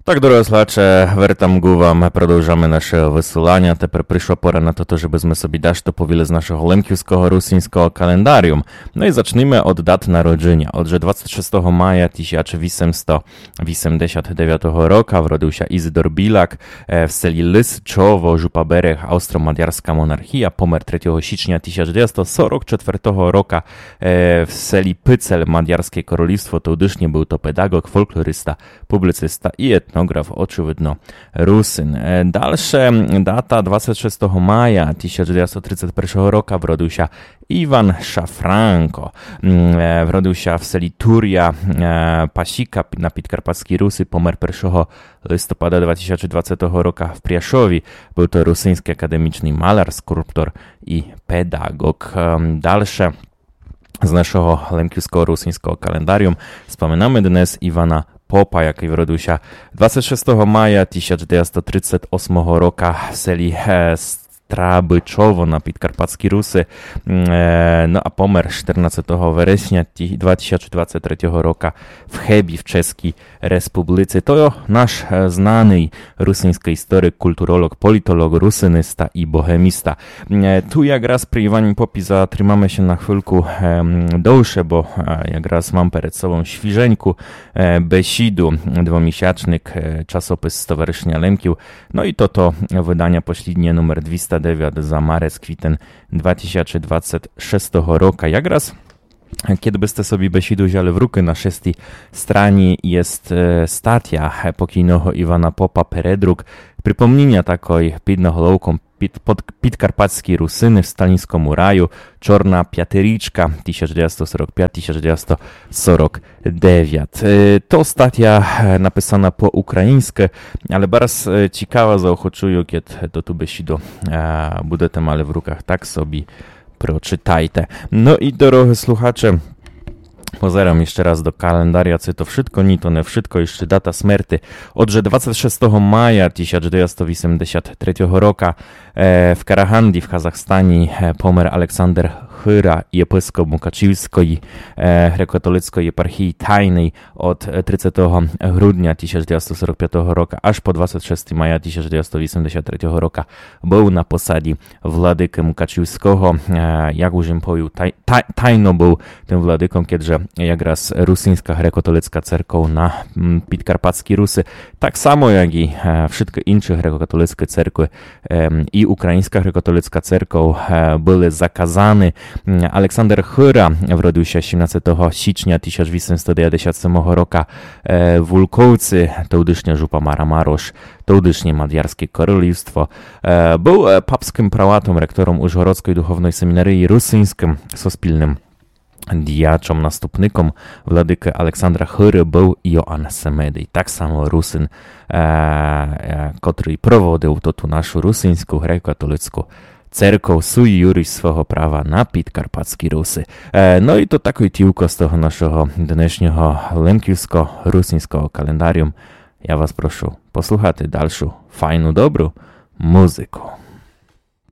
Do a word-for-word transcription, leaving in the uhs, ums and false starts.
Так, дорогы слухаче, вертам ґу вам, продовжаме наше высыланя. Тепер пришла пора на то, жебы зме собі дашто повіли з нашого лемківского русиньского календаріум. Но і зачнеме од дат народжыня. Отже, двадцет шестого мая тисяч вісемсто вісемдесят девятого рока вродив ся Ізидор Білак, е, в селі Лисчово, Жупа Берег, Австро-Мадярска монархія, помер третього січня тисяч девятсто сорок четвертого рока, е, в селі Пицель, Мадярске королівство, тодышнє. Быв то педаґоґ, фолклориста, публіциста і етноґраф, очевидно, Русин. Е, дальше дата: двадцет шестого мая тисяч девятсто тридцет першого рока вродив ся Іван Шафранко. М, е, вродив ся в селі Туря, е, Пасіка на Підкарпатскій Руси, помер першого листопада два тисячі двадцятого рока в Пряшові. Быв то русиньскій академічный маляр, скульптор і педаґоґ. Ем, дальше з нашого лемківского русиньского календаріум споминаме днес Івана Попа, якый вродив ся двадцет шестого мая тисяч девятсто тридцет осмого рока в селі, е, Страбычово на Підкарпатскій Руси. М, е, но а помер штернадцетого вересня ті-, два тисячі двадцет третього рока в Хебі в Чеській Республіці. То наш, е, знаный русиньскый історик, культуролоґ, політолоґ, русиниста і богеміста. Е, ту якраз при Івані Попі затримаме ся на хвильку, ем, довше, бо, е, якраз мам перед собом свіженьку, е, бесіду, двомісячник, е, часопис Стоваришыня Лемків. Но і тото выданя посліднє, номер двіста девят, за марец, квітен два тисячі двадцет шестого рока. Якраз кед бы сте собі бесіду взяли в рукы, на шестій страні єст, е, статя, е, покійного Івана Попа, передрук, припомніня такой під наголовком під, под, «Підкарпатські русины в сталінському раю. Чорна пятирічка тисяч девятсто сорок пять, тисяч девятсто сорок девять». Е, то статя, е, написана по-українськы, але барз, е, цікава, заохочую, кед тоту бесіду, е, будете мали в руках, так собі прочитайте. Но і, дорогы слухаче, позерам іщы раз до календаря, ци то вшытко? Ні, то не вшытко, іщы дата смерти. Отже, двадцет шестого мая тисяч девятсто вісемдесят третього рока, е, в Караганді в Казахстані, е, помер Александер Хыра, єпископ Мукачівської, е, греко-католицької єпархії, тайный од, е, тридцятого грудня тисяч девятсто сорок пятого рока аж по двадцет шестого мая тисяч девятсто вісемдесят третього рока быв на посаді владыкы Мукачівського, е, як уж єм повів, тай-, тай-, тайно быв тым владыком, кедже якраз русиньска греко-католицька церков на, м, Підкарпатській Руси, так само, як і, е, вшыткі інші греко-католицькі церкви, ем, і україньска греко-католицька церков, е, были заказаны. М, Александер Хыра вродив ся сімнадцятого січня тисяч вісемсто девятдесят семого рока, е, в Улковці, тодышня Жупа Мара Марош, тодышнє Мадярське королівство. Е, быв, е, папськым праватом, ректором Ужгородської духовної семінарії, русиньскым суспільным діячом, наступником владыкы Александра Хыры быв Йоан Семедый, так само русин, е, е, котрый проводив тоту нашу русиньску греко-католицьку церков, суй юріс свого права на Підкарпатській Руси. Е, но і то такой тівко з того нашого днешнього лемківско-русиньского календаріум. Я вас прошу послухати дальшу файну, добру музыку.